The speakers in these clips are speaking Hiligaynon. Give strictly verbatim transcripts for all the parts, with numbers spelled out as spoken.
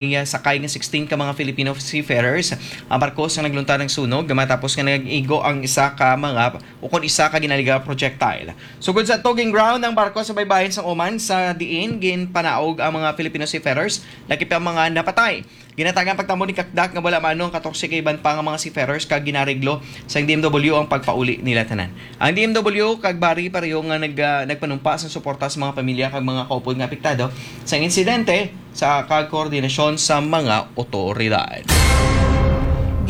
iya sakay nga sixteen ka mga Filipino seafarers ang barko sa naglunta ng sunog matapos nga nag-igo ang isa ka mga o kon isa ka ginaligya projectile. Sugod sa tugging ground ang barko sa baybayon sang Oman, sa diin ginpanaog ang mga Filipino seafarers, lakip ang mga napatay. Ginatagan pagtambong ni Kakdak nga wala mano ang katorse ka iban pa nga mga seafarers kag ginareglo sang D M W ang pagpauli nila tanan. Ang D M W kag bari pareho nga nag, ah, nagpanumpa sang suporta sa mga pamilya kag mga kaupod nga apektado sa insidente sa kag koordinasyon sa mga otoridad.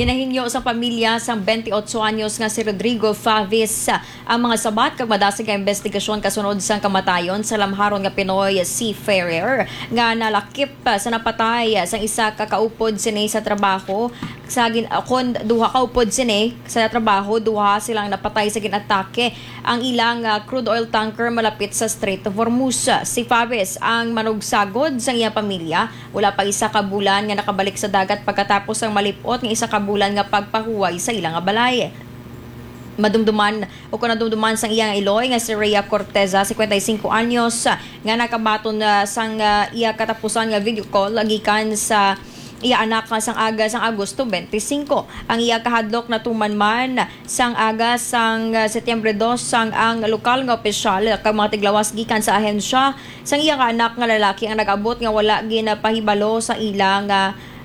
Ginahingyo sa pamilya sang twenty-eight anyos nga si Rodrigo Favis ang mga sabat kag madasig nga investigasyon kasunod sang kamatayon sa lamharon nga Pinoy seafarer nga nalakip sa napatay sang isa ka kaupod sini sa trabaho sa gin-, kon duha kaupod sini sa trabaho, duha silang napatay sa ginatake ang ilang, ah, crude oil tanker malapit sa Strait of Hormuz. Si Favis ang manugsagod sang iyang pamilya. Wala pa isa ka bulan nga nakabalik sa dagat pagkatapos sang malip-ot nga isa ka bulan nga pagpahuway sa ila nga balay. Madumduman o kon nadumduman sang iyang iloy nga si Rhea Corteza, cincuenta y cinco anyos, nga nakabaton, ah, sang, ah, iya katapusan nga video call gikan sa iya anak nga sang aga sang Agosto twenty-five. Ang iya kahadlok natuman man sang aga sang, ah, Setyembre dos, sang ang lokal nga opisyal kag mga tiglawas gikan sa ahensya sang iya nga anak nga lalaki ang nag-abot nga wala ginapahibalo sa ila nga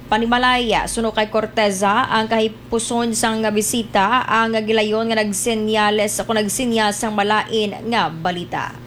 panimalay. Suno kay Corteza, ang kahipuson sang bisita ang gilayon nga nagsenyales o nagsinyas sang malain nga balita.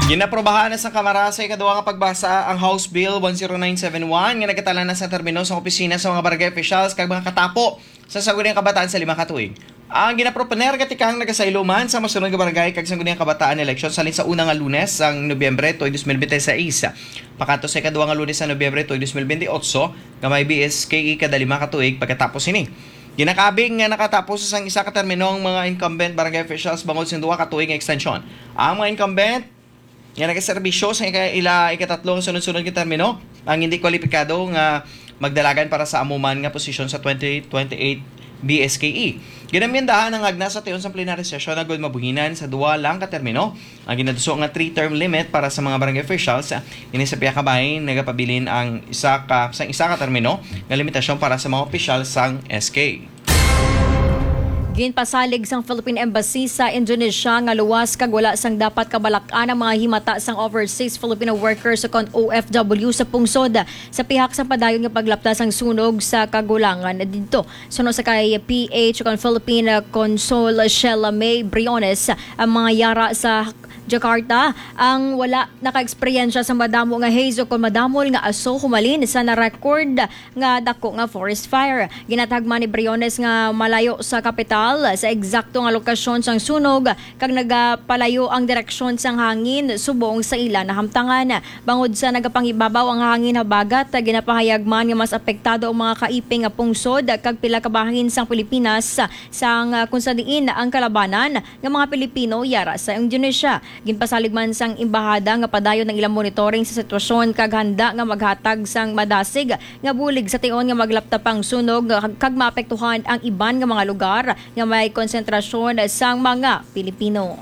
Ginaprobahan na sa Kamara sa ikaduha nga pagbasa ang House Bill one zero nine seven one nga nagkatalan na sa termino sa opisina sa mga barangay officials kag mga katapo sa Sangguniang Kabataan sa lima ka tuig. Ang ginaproponer nga tikang nagasaylo man sa masunod nga barangay kag Sangguniang Kabataan eleksyon halin sa una nga Lunes sang Nobyembre tuig dos mil binte seis, pakadto sa ikaduha nga Lunes sa Nobyembre tuig dos mil binte otso, nga may B S K E kada lima ka tuig pagkatapos sini. Ginakabig nga nakatapos sang isa ka termino ang mga incumbent barangay officials bangod sa duha ka tuig nga extension. Ang mga incumbent nga nagaserbisyo sa ika-, ila ikatatlo nga sunod-sunod nga termino ang hindi kwalipikado nga magdalagan para sa amo man nga posisyon sa twenty twenty-eight B S K E. Ginamyendahan ang agna sa tion sang plenary session agud mabuhinan sa duha lang ka termino ang ginaduso nga three-term limit para sa mga barangay officials. Ini sa pihak nga bahin nagapabilin ang isa ka, sang isa ka termino nga limitasyon para sa mga opisyal sang S K. Ginpasalig sang Philippine Embassy sa Indonesia nga luwas kag wala sang dapat kabalak-an ang mga himata sang overseas Filipino workers o kon O F W sa pungsod sa pihak sa padayon nga paglapta sang sunog sa kagulangan didto. Suno sa kay P H o kon Philippine Consul Sheila May Briones, ang mga yara sa Jakarta ang wala naka-eksperyensya sa madamo nga haze o kon madamol nga aso humalin sa na-record nga dako nga forest fire. Ginatagman ni Briones nga malayo sa kapital sa eksakto nga lokasyon sang sunog kag nagapalayo ang direksyon sang hangin subong sa ila nahamtangan. Bangod sa nagapanghibabaw ang hangin habagat, ginapahayag man nga mas apektado ang mga kaiping nga pungsod kag pila ka bahin sang Pilipinas sang, ah, kung sa diin ang kalabanan nga mga Pilipino yara sa Indonesia. Ginpasalig man sang embahada nga padayon ang ilang monitoring sa sitwasyon kag handa nga maghatag sang madasig nga bulig sa tion nga maglapta pa ang sunog kag maapektuhan ang iban nga mga lugar nga may konsentrasyon sang mga Pilipino.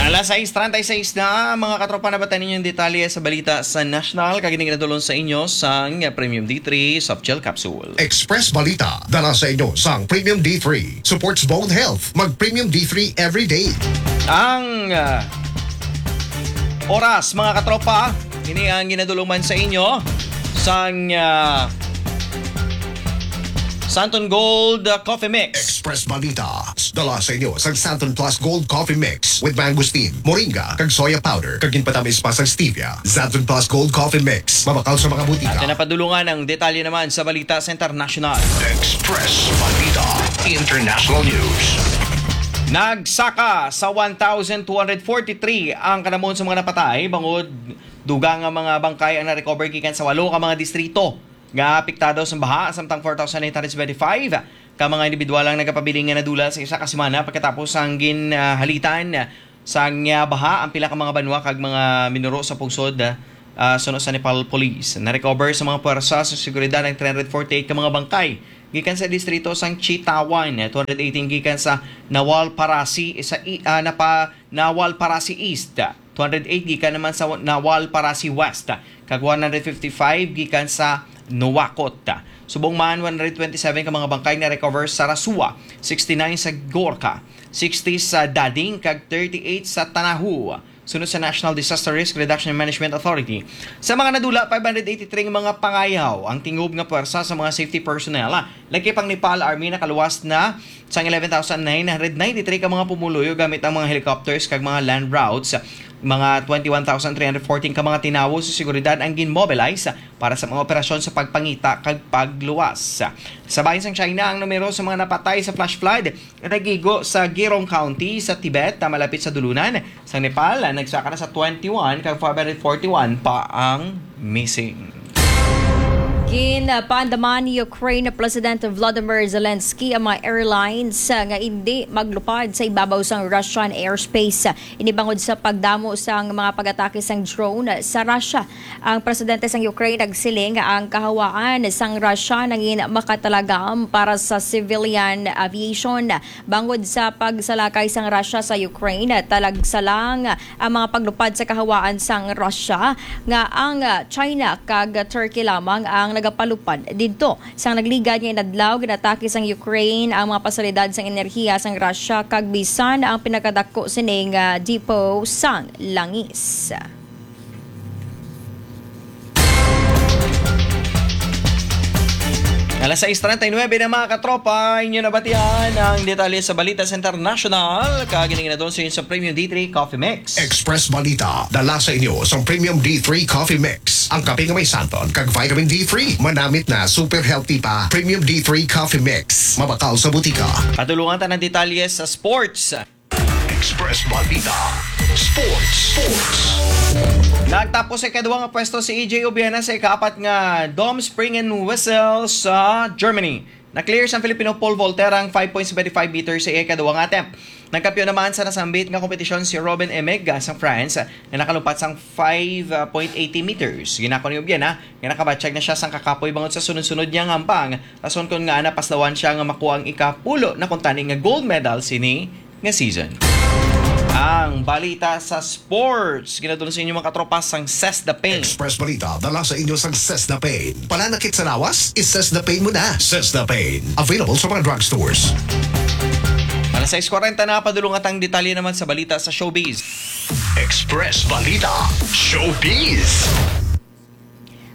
Alas sais treinta y seis na, mga katropa, nabatan ninyo ang detalye sa balita sa national, kag ini ginadulong sa inyo sang Premium D three Soft Gel Capsule. Express Balita, dala sa inyo sang Premium D three. Supports bone health. Mag Premium D three every day. Ang, ah, oras, mga katropa, ini ang ginadulungan sa inyo sang, ah, Santon Gold, ah, Coffee Mix. Express Balita, dala sa inyo sang Santon Plus Gold Coffee Mix with mangosteen, moringa, kag soya powder, kag ginpatamis pa sang stevia. Santon Plus Gold Coffee Mix, mabakal sa mga butika. At napadulungan ang detalye naman sa balita sa international. Express Balita International News. Nagsaka sa one thousand two hundred forty-three ang kanamon sa mga napatay, bangod dugang nga mga bangkay ang na-recover gikan sa walo ka mga distrito nga apektado sa baha, samtang four thousand eight hundred seventy-five ka mga individual ang nagapabilin nga nadula sa isa ka semana pagkatapos ang ginhalitan sang, ah, baha ang pila ka mga banwa kag mga minuro sa pungsod, ah, suno sa Nepal Police. Na-recover sa mga puwersa sa seguridad ang three hundred forty-eight ka mga bangkay gikan sa distrito sang Chitawan, two hundred eighteen gikan sa Nawalparasi, sa i-, ah, napa-, Nawalparasi East, two hundred eight gikan naman sa Nawalparasi West, kag one hundred fifty-five gikan sa Nuwakot. Subong man, one hundred twenty-seven ka mga bangkay na-recover sa Rasua, sixty-nine sa Gorka, sixty sa Dading, kag thirty-eight sa Tanahu. Sunod sa National Disaster Risk Reduction and Management Authority, sa mga nadula, five hundred eighty-three nga mga pangayaw ang tingob nga pwersa sa mga safety personnel. Lagi pang Nepal Army, nakaluwas na sang eleven thousand nine hundred ninety-three ka mga pumuluyo gamit ang mga helicopters kag mga land routes. Mga twenty-one thousand three hundred fourteen ka mga tinawo sa seguridad ang ginmobilize para sa mga operasyon sa pagpangita kag pagluwas. Sa bahin sang China, ang numero sa mga napatay sa flash flood nagigo sa Girong County sa Tibet, na malapit sa dulunan sang Nepal. Nagsaka na sa twenty-one, kag five hundred forty-one pa ang missing. Ginpaandaman ni Ukraine President Volodymyr Zelensky ang mga airlines nga hindi maglupad sa ibabaw sang Russian airspace. Ini bangod sa pagdamo sang mga pag-atake sang drone sa Russia. Ang presidente sang Ukraine nagsiling nga ang kahawaan sang Russia nangin makatalagam para sa civilian aviation. Bangod sa pagsalakay sang Russia sa Ukraine, talagsa lang ang mga paglupad sa kahawaan sang Russia, nga ang China kag Turkey lamang ang nagapalupad didto. Sang nagligad nga inadlaw, ginatake sang Ukraine ang mga pasilidad sang enerhiya sang Russia kag bisan ang pinakadako sining, ah, depot sang langis. Alas sais treinta y nueve na, mga katropa, inyo nabatian ang detalye sa balita sa international. Kag ini nga nadulong sa inyo sa Premium D three Coffee Mix. Express Balita, dala sa inyo sa Premium D three Coffee Mix. Ang kape nga may santon kag vitamin D three, manamit na, super healthy pa. Premium D three Coffee Mix, mabakal sa butika. Padulungan ta ng detalye sa sports. Express Balita Sports. Sports. Nagtapos sa ikaduha nga pwesto si E J Obiena sa ikaapat nga Dom Spring and Whistle sa Germany. Na-clear sang Filipino pole vaulter ang five point seven five meters sa ikaduha nga attempt. Nagkampiyon naman sa nasambit nga kompetisyon si Robin Emig, ah, sang France, nga nakalumpat sang five point eighty meters. Ginako ni Obiena nga nakabatyag na siya sang kakapoy bangod sa sunod-sunod niya nga hampang, rason kon ngaa napaslawan siya nga makuha ang ikapulo na kuntani nga gold medal sini nga season. Ang balita sa sports, ginadulong sa inyo, mga katropa, sang Sesda Pain. Express Balita, dala sa inyo sang Sesda Pain. Pananakit sa lawas? I-Sesda Pain mo na. Sesda Pain, available sa mga drugstores. Alas sais kwarenta na, padulong ta ang detalye naman sa balita sa showbiz. Express Balita Showbiz.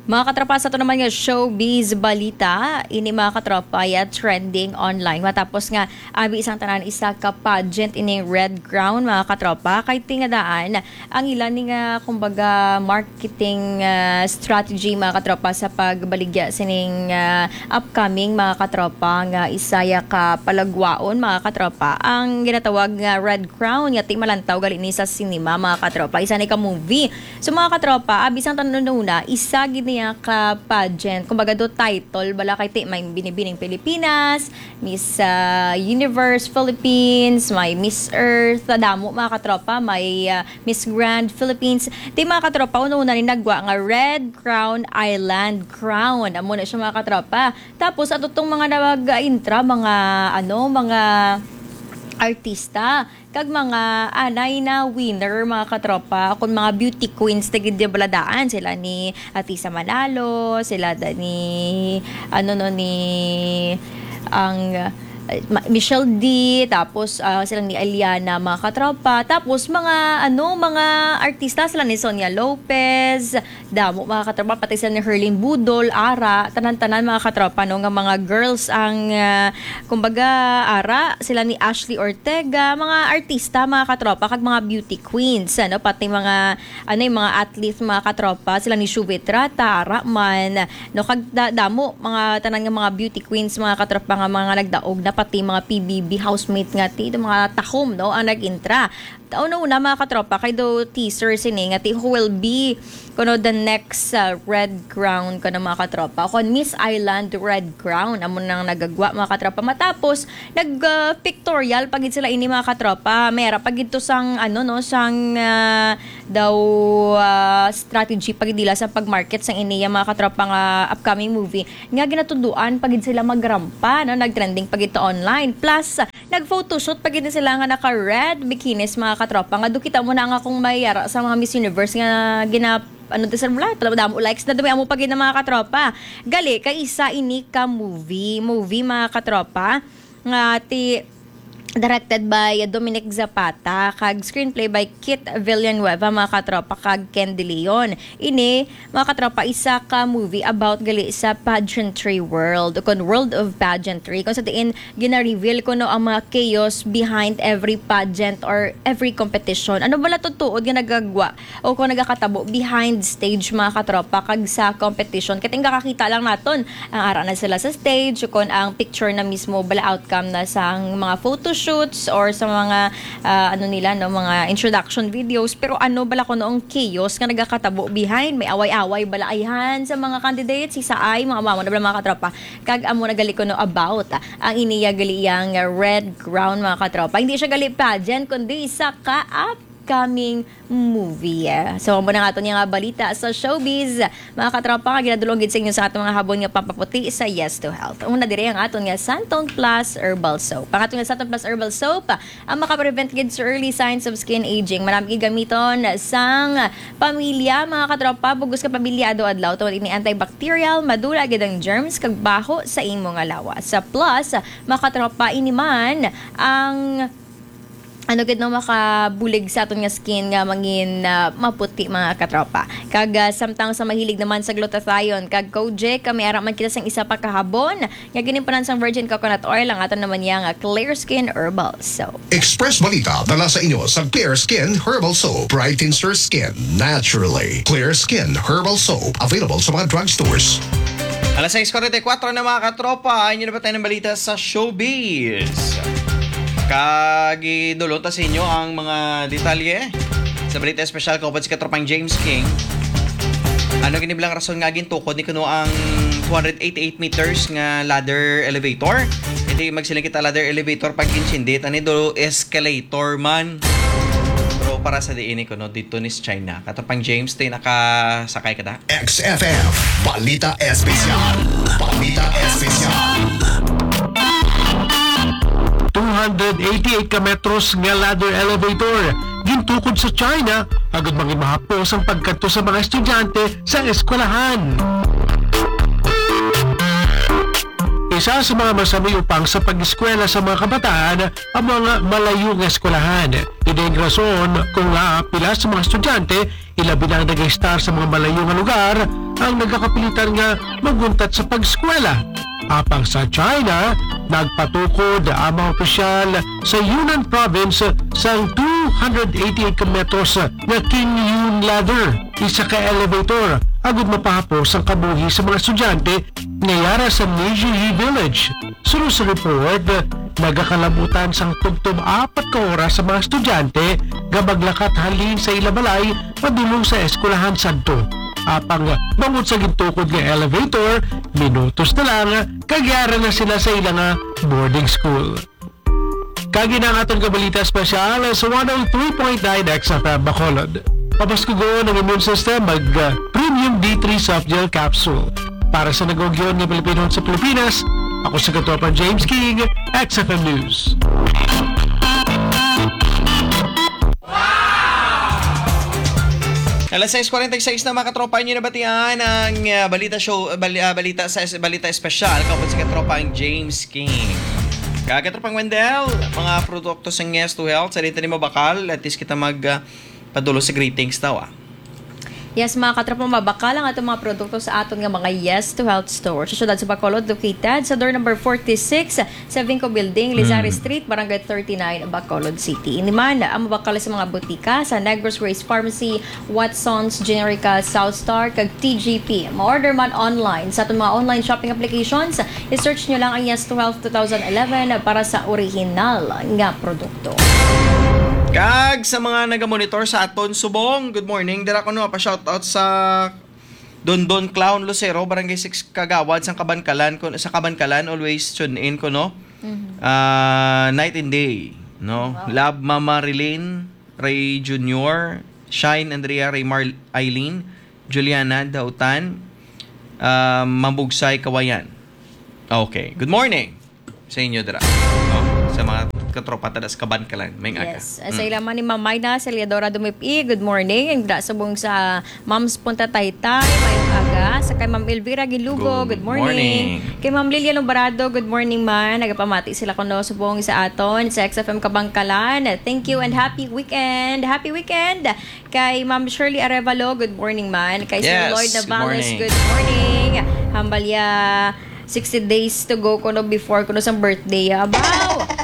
Mga katropa, sa ato naman nga showbiz balita, ini, mga katropa, ya trending online. Matapos nga abi sang tanan, isa ka pageant ining Red Crown, mga katropa. Kay ti nga daan, ang ila ni nga, kumbaga, marketing, ah, strategy, mga katropa, sa pagbaligya sining, ah, upcoming, mga katropa, nga isa ya ka palagwaon, mga katropa, ang ginatawag nga Red Crown, nga ti malantaw gali ni sa sinema, mga katropa. Isa ni ka movie. So, mga katropa, abi sang tanan, una, isa gid niya ka pageant. Kumbaga, do title bala kay ti may Binibining Pilipinas, Miss, ah, Universe Philippines, may Miss Earth, damo, mga katropa, may, ah, Miss Grand Philippines. Ti, mga katropa, una-una ni nagwa nga Red Crown Island Crown. Amo na siya, mga katropa. Tapos ato tong mga nag-intra, mga, ano, mga artista kag mga anay na winner, mga katropa, kun mga beauty queens na gid, di ba, daan sila ni Atisa Manalo, sila da ni, ano, no, ni, ang, uh, Ma-, Michelle D, tapos, ah, sila ni Eliana, mga katropa, tapos mga, ano, mga artista, sila ni Sonia Lopez, damo, mga katropa, pati sila ni Herlin Budol, ara, tanan-tanan, mga katropa, no, nga mga girls ang, ah, kumbaga, ara, sila ni Ashley Ortega, mga artista, mga katropa, kag mga beauty queens, ano, pati mga, ano, yung mga athlete, mga katropa, sila ni Shuvet Rata, ara man, no, kag da-, damo, mga tanan nga mga beauty queens, mga katropa, nga mga nagdaog na, pati mga P B B housemate nga ti, mga tahom, no, ang nag-intra. Una-una, mga katropa, kay do teaser sini nga ti who will be kuno the next, ah, Red Crown kuno, mga katropa. O kon Miss Island Red Crown, amo nang nagagwa, mga katropa. Matapos, nag, ah, pictorial pa gid sila ini, mga katropa. May ara pa gid to sang, ano, no, sang, ah, daw, ah, strategy pa gid nila sa pag-market sang ini, mga katropa, nga upcoming movie nga ginatunduan pa gid sila magrampa, no? Nag-trending pa gid to online. Plus, nag-photoshoot pa gid sila nga naka-red bikinis, mga katropa, nga do kita mo na nga kung may ara sa mga Miss Universe nga gina-, ano to, sir, wala, pala damo likes na dumi amo pa gid na, mga katropa. Gali, kay isa ini ka movie, movie, mga katropa, nga ti-, directed by Dominic Zapata, kag screenplay by Kit Villanueva, mga katropa, kag Ken De Leon. Ini, mga katropa, isa ka movie about gali sa pageantry world, o kon world of pageantry, kung sa diin gina-reveal kuno ang mga chaos behind every pageant or every competition. Ano bala to tuod nga nagagwa o kung nagakatabo behind stage, mga katropa, kag sa competition? Kay tingga kakita lang naton ang ara na sila sa stage, o kon ang picture na mismo bala outcome na sa mga photoshoots or sa mga, ah, ano nila, no, mga introduction videos. Pero ano bala kuno ang chaos nga nagakatabo behind? May away-away bala ayhan sa mga candidates? Isa ay mga mamo na bala, mga katropa. Kag amo na gali kuno about, ah, ang iniya gali iyang Red Crown, mga katropa. Hindi siya gali pageant, kundi isa ka upcoming movie. So, amo na nga aton nga balita sa showbiz, mga katropa, nga ginadulong gid sa inyo sa aton mga habon nga pampaputi sa Yes to Health. Una diri ang aton nga Santon Plus Herbal Soap. Ang aton nga Santon Plus Herbal Soap, ang makaprevent gid sa early signs of skin aging. Marami gid gamiton sang pamilya, mga katropa, bugos ka pamilya, adlaw-adlaw. Tungod ini antibacterial, madula gid ang germs kag baho sa imo nga lawas. Sa plus, mga katropa, ini man ang ano gid, no, makabulig sa aton nga skin nga mangin, ah, maputi, mga katropa. Kag, ah, samtang sa mahilig naman sa glutathione kag kojic, kami ara man kita sang isa pa ka habon nga ginimpunan sang virgin coconut oil, ang aton naman niya nga Clear Skin Herbal Soap. Express Balita dala sa inyo sa Clear Skin Herbal Soap. Brightens your skin naturally. Clear Skin Herbal Soap, available sa mga drugstores. Alas sais kuwarenta y kuwatro na, mga katropa, inyo na ba tayo ng balita sa showbiz? Kagidulon ta sa inyo ang mga detalye sa balita espesyal kaupod si katropang James King. Ano gini bilang rason nga gintukod ni kuno ang two hundred eighty-eight meters nga ladder elevator? Hindi magsiling kita ladder elevator pag insindi, tani do escalator man. Pero para sa diin ni kuno dito ni China. Katropang James, ti nakasakay ka da? X F M, Balita Espesyal. Balita Espesyal. Two hundred eighty-eight ka metros nga ladder elevator gintukod sa China agud mangin mahapos ang pagkadto sa mga estudyante sa eskwelahan. Isa sa mga masanay upang sa pag-eskwela sa mga kabataan ang mga malayo nga eskwelahan. Ina ang rason kung nga pila sa mga estudyante, ilabi na ang nag-estar sa mga malayo nga lugar, ang nagakapilitan nga maguntat sa pag-eskwela. Apang sa China, nagpatukod ang mga opisyal sa Yunnan Province sang two hundred eighty-eight ka metros nga King Yun Ladder, isa ka elevator, agud mapahapos ang kabuhi sa mga estudyante nga yara sa Meiji Village. Suno sa report, nagakalabutan sang tubtob apat ka oras sa mga estudyante nga maglakat halin sa ila balay padulong sa eskwelahan sadto. Apang bangod sa gintukod nga elevator, minutos na lang kag yara na sila sa ila nga boarding school. Kag ina ang aton kabalita espesyal sa one oh three point nine X F M Bacolod. Papaskugon ang immune system, mag, uh, Premium D three Soft Gel Capsule. Para sa nag-ugyon nga Pilipino sa Pilipinas, ako si Katropang James King, X F M News. Alas sais kuwarenta y seis na, mga katropa, inyo nabatian ang, uh, balita show, bali-, uh, balita sa es-, balita espesyal kaupod si katropang James King. Kag katropang Wendell, mga produkto sa Yes to Health, sa dito ni mabakal, at least kita mag, uh, padulo sa greetings daw, ah. Yes, mga katropa, mabakal ang atong mga produkto sa aton nga mga Yes to Health store. Sa siyudad sa Bacolod, located sa door number forty-six sa Vinco Building, Lizares Mm. Street, Barangay thirty-nine, Bacolod City. Ini man ang mabakal sa mga butika sa Negros Grace Pharmacy, Watson's Generica, South Star, kag T G P. Ma-order man online sa aton mga online shopping applications. I-search nyo lang ang Yes to Health two thousand eleven para sa original nga produkto. Kag sa mga nagamonitor sa aton subong, good morning. Dira ko no pa shoutout sa Dondon Clown Lucero, Barangay six Kagawad, sa Kabankalan, kun, sa Kabankalan, always tune in ko, no? Mhm. Ah, night and day, no? Wow. Love Mama Rilin, Ray Junior, Shine Andrea, Ray Mar-, Eileen, Juliana Dautan, ah, Mambugsay Kawayan. Okay. Good morning sa inyo dira. No? Sa mga katropa ta sa Kabankalan, may aga. Yes. Ah, sa Mm. ilaman ni Ma'am Mayna Celiadora Dumipi, good morning. Ang dira subong sa Moms Punta Taytay, mayong aga. Sa kay Ma'am Elvira Gilugo, Good good morning. morning. Kay Ma'am Lilian Obrado, good morning man. Nagapamati sila kuno subong sa aton sa X F M Kabankalan. Thank you and happy weekend. Happy weekend. Kay Ma'am Shirley Arevalo, good morning man. Kay Sir Yes, Lloyd good Navales, morning. good morning. Hambal ya, sixty days to go kuno before kuno sa birthday ya. Abaw!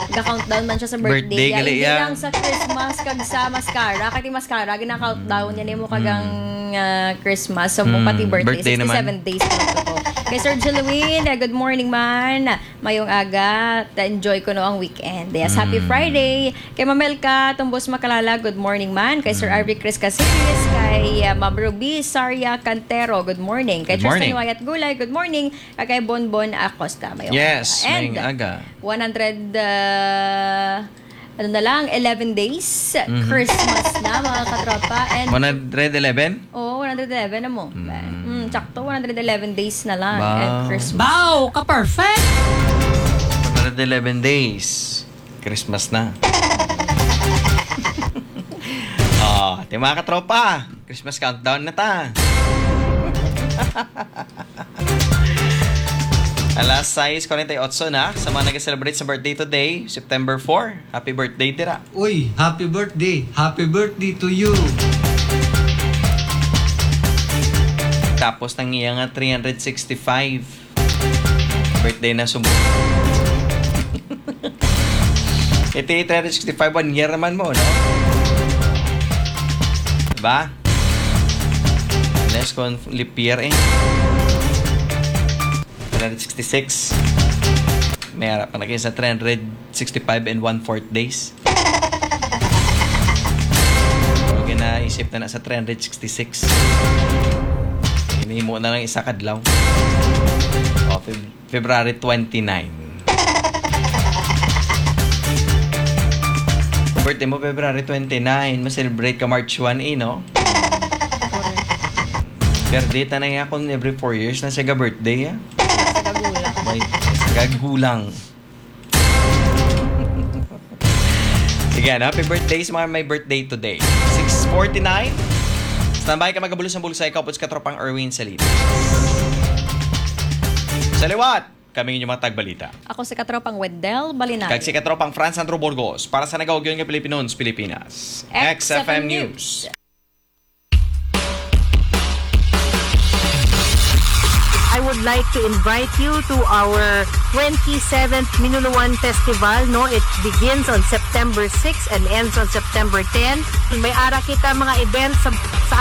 Ga-countdown man siya sa birthday Birthday ya. gali Hindi ya. lang sa Christmas kag sa mascara. Kay ti mascara, gina-countdown niya nimo kagang, Mm. ah, Christmas. So, mo Mm, pati birthday, birthday naman. sixty-seven days na to. Kay Sir Jeloin, ah, good morning man. Mayong aga. Ta-, enjoy ko no ang weekend. Yes, happy Mm. Friday. Kay Mamelka Tumbos Makalala, good morning man. Kay Sir Mm. Arvi Chris Casillas, kay, ah, Ma'am Ruby Saria Cantero, good morning. Kay Good Tristan morning. Wyatt Gulay, good morning. Kag kay Bonbon Acosta, mayong Yes, aga. And mayong aga. one hundred, ah, ano na lang, eleven days, Mhm. Christmas na, mga katropa. And one hundred eleven? Oo, one hundred eleven na mo. Mm. Mm, sakto, one hundred eleven days na lang. Wow. And Christmas. Wow, ka-perfect! One hundred eleven days. Christmas na. Oh, ti mga katropa, Christmas countdown na ta. Alas sais cuarenta y ocho na. Sa mga nag-celebrate sa birthday today, September four, happy birthday dira. Uy, happy birthday. Happy birthday to you. Tapos nang iya nga three hundred sixty-five. Birthday na subong. Iti three hundred sixty-five, one year naman mo, no? Diba? Unless kung leap year eh. Three hundred sixty-six. May harap pa na kayo sa three hundred sixty-five and one-fourth days. Huwag na isip na na sa three hundred sixty-six. Hinihimo na lang isa kadlaw. O, Feb-, February twenty-nine. Birthday mo, February twenty-nine. Ma-celebrate ka March one, eh, no? Pero di, tanay nga kung every four years na siya ga-birthday, ah. Sa kagulang. May kagulang. Sige, ano? Happy birthday sa mga may birthday today. Six forty-nine. Standby ka, magabulos ang bulsa. Ikaw po si Katropang Erwin Salinas. Sa liwat, kami inyong mga tagbalita. Ako si Katropang Wendell Balinayo. Kag si Katropang Franz Andrew Burgos para sa nagawagyon nga Pilipinon sa Pilipinas. X F M News. I would like to invite you to our twenty-seventh Minuluan Festival, no? It begins on September six and ends on September ten. May ara kita mga events sa, sa